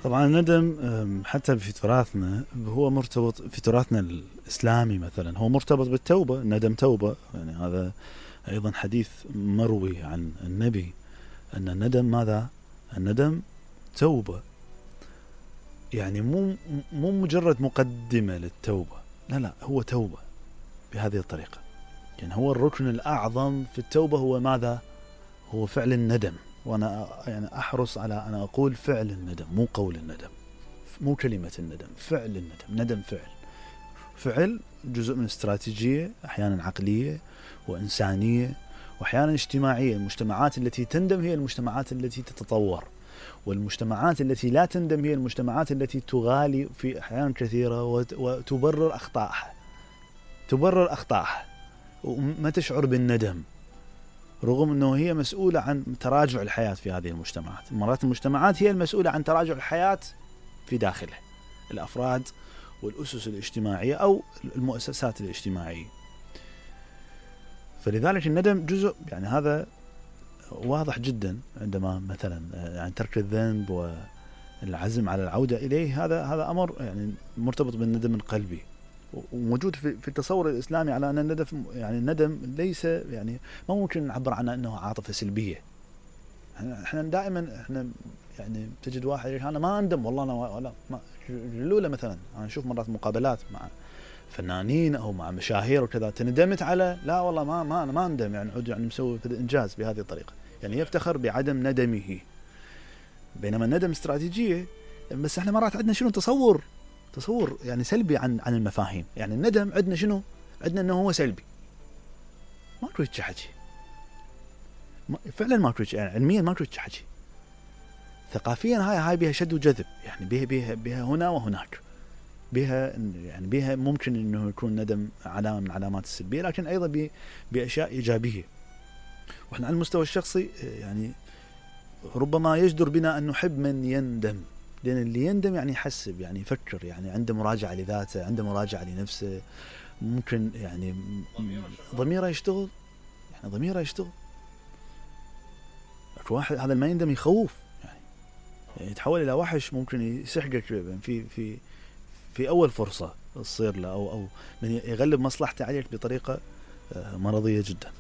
طبعا الندم حتى في تراثنا هو مرتبط في تراثنا الإسلامي مثلا، هو مرتبط بالتوبة. الندم توبة، يعني هذا أيضا حديث مروي عن النبي أن الندم ماذا؟ الندم توبة، يعني مو مجرد مقدمة للتوبة، لا هو توبة بهذه الطريقة. يعني هو الركن الأعظم في التوبة هو ماذا؟ هو فعل الندم. وأنا يعني أحرص على أن أقول فعل الندم، مو قول الندم، مو كلمة الندم، فعل الندم. ندم فعل جزء من استراتيجية أحيانا عقلية وإنسانية وأحيانا اجتماعية. المجتمعات التي تندم هي المجتمعات التي تتطور، والمجتمعات التي لا تندم هي المجتمعات التي تغالي في أحيان كثيرة وتبرر أخطائها وما تشعر بالندم، رغم أنه هي مسؤولة عن تراجع الحياة في هذه المجتمعات. مرات المجتمعات هي المسؤولة عن تراجع الحياة في داخله، الأفراد والأسس الاجتماعية أو المؤسسات الاجتماعية. فلذلك الندم جزء، يعني هذا واضح جدا عندما مثلا يعني ترك الذنب والعزم على العودة إليه، هذا أمر يعني مرتبط بالندم القلبي، وموجود في التصور الإسلامي على أن الندم، يعني الندم ليس، يعني ما ممكن نعبر عنه أنه عاطفة سلبية. احنا دائما يعني تجد واحد يقول أنا ما أندم والله، أنا ولا الأولى مثلا أنا أشوف مرات مقابلات مع فنانين أو مع مشاهير وكذا، تندمت على لا والله ما أنا ما أندم، يعني عود يعني مسوي إنجاز بهذه الطريقة، يعني يفتخر بعدم ندمه. بينما الندم استراتيجية، بس احنا مرات عندنا شنو تصور يعني سلبي عن المفاهيم. يعني الندم عندنا شنو؟ عندنا انه هو سلبي، ماكو هيك حكي، فعلا ماكو هيك، يعني علميا ماكو هيك حكي. ثقافيا هاي بها شد وجذب، يعني بها هنا وهناك، بها ممكن انه يكون ندم علامة من علامات السلبية، لكن ايضا باشياء ايجابية. واحنا على المستوى الشخصي يعني ربما يجدر بنا ان نحب من يندم، لأن اللي يندم يعني يحسب، يعني يفكر، يعني عنده مراجعة لذاته، عنده مراجعة لنفسه، ممكن يعني ضميره يشتغل، يعني ضميره يشتغل. واحد هذا ما يندم يخوف، يعني يتحول إلى وحش، ممكن يسحقك في أول فرصة تصير له، أو من يغلب مصلحته عليك بطريقة مرضية جدا.